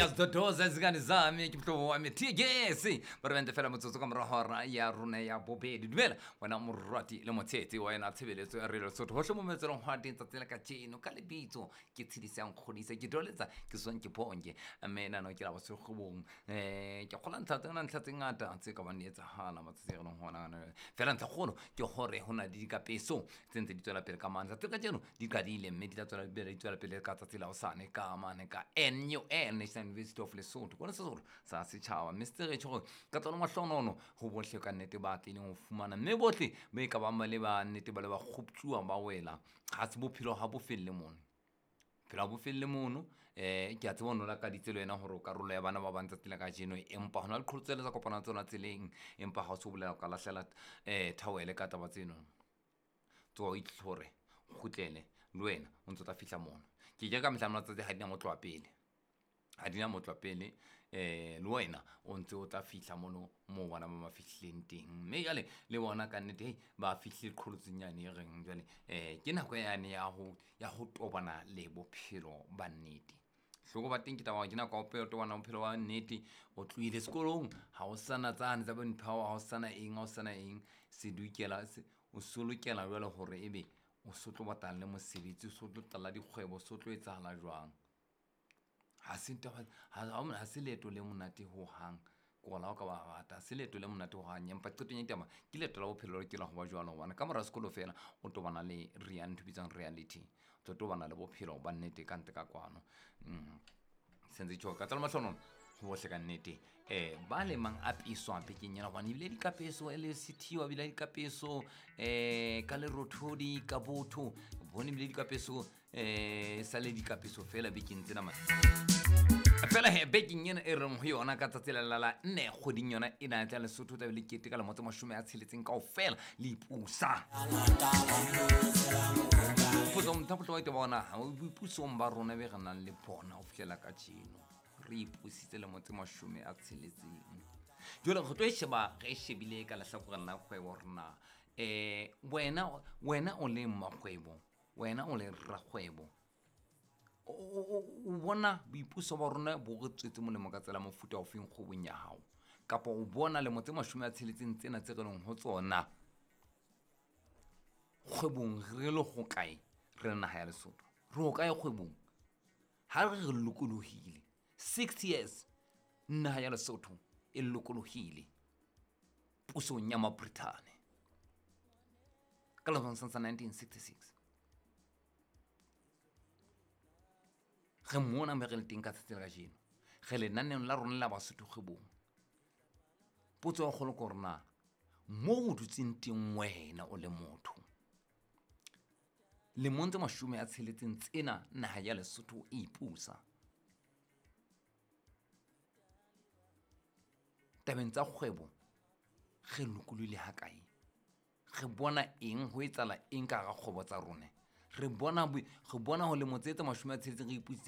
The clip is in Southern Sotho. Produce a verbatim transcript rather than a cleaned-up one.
Uyazidodoza izingane zami, ke mohlobo wa me T G S ba re bente fela motsotso ka morago hora ya rona ya bobedi. Dumela wena morati le motshetsi wa yena tshebeletso ya Radio Lesotho hohle mo metselong hwa teng tsatsi la kajeno. Ka lebitso ke tshedisa nkgodisa, ke doletsa ke swang ke bonke, mme nano ke la bosekgobong. um ke kgola ntlha tsena, ntlha tse ngata tse ka bang di etsahala matsatsi a re leng hona. Fela ntlha kgolo ke gore ho na le dikapeso tse ntse di tswela pele ka mane tsatsi la kajeno, di qadile mme di tla tswela pele, di tswela pele ka tsatsi la hosane ka mane ka N U L, National University of Lesotho, kona Sesotho sa Setšhaba. Mme se retjho gore ka tsona mahlonono ho bohle ka nnete ba tlileng ho fumana, mme bohle ba e ka bang ba le ba nnete ba le ba kgoptjuwa ba wela. Ha se bophelo, ha bo felle mono, phelo ha bo felle mono. um ke a tseba o no lakaditse le wena gore o karolo ya bana ba bang tsatsi la kajeno, empa ho na le qholotso tsa kopana tsona tseleng. Empa ha o se o bolela o ka lahlela um thawele ka taba tseno, tsoha o itlhore, o kgutlele le wena o ntso tla fihla mono. Ke ke ka mehla matsatsi ha di na mo tloha pele, ha di na mo tloha pele. um le wena o ntse o tla fihla mono moo bana ba ba fihlileng teng, mme jwale le bona ka nnete hei ba fihlile qholotsong yane e reng jwale um ke nako yane ya ho ya ho tobana le bophelo ba nnete. Hloko ba teng ke taba, ke nako ya ho tobana bophelo ba nnete. O tlohile sekolong, ha o sana tsane tsa bo ntho, ha o sana eng, ha o sana eng sedukela o so lokela jwale hore ebe o so tlo batlana le mosebetsi, o so tlo qala dikgwebo, o so tlo etsahala jwang. Ha se taba, ha se leeto le monate hohang, ko la o ka ba rata, ha se leeto le monate hohang. Empa qetong ya ditaba ke leeto la bophelo le lokela ho ba jwalo, hobane ka mora sekolo fela o tobana le ntho e bitswang reality, o tlo tobana le bophelo ba nnete ka ntle ka kwano. mm. Sentse tjho ka tsala mahlonono ho bohle ka nnete um ba lemang a peswa bekeng ena, gobane ebile dikapeso e le sethiwa, ebile dikapeso um ka lerothodi ka botho bone, ebile dikapeso um sa le dikapeso fela bekeng tsena mane fela. He bekeng ena e reng ho yona ka tsatsi la la nne kgweding yona ena tla Lesotho tla be le kete ka lemo tse mashome a tsheletseng kaofela le ipusa. Potso mothapotlho wa itaba ona boipusong ba rona be re nang le bona ho fihlela kajeno, re ipusitse lemo tse mashome a tsheletseng. Jwale re tlo e sheba, re e shebile ka lehlakoreng la kgwebo rena. um wena wena o le mmakgwebo, wena o le rakgwebo, o bona boipuso ba rona bo re tswetse molemo ka tsela mofuta ofeng kgwebong ya hao? Kapa o bona lemo tse mashome a tsheletseng tsena tse re leng ho tsona kgwebong re le ho kae? Re le naha ya Lesotho re ho kae kgwebong ha re re lokolohile? Six years naha ya Lesotho e lokolohile pusong ya Mabrithane ka lemo sa nineteen sixty-six, re mona me re le teng ka tsatsi la kajeno, re lenaneong la rona la Basotho kgwebong. Potso ya kgolo ke hore na mo o dutseng teng wena o le motho, lemong tse mashome a tsheletseng tsena naha ya Lesotho e ipusa, tabeng tsa kgwebo re lokolohile ha kae? Re bona eng, ho etsahala eng ka hara kgwebo tsa rona? Re bona re bona ho lemo tse tse mashome a tsheletseng re ipusitse.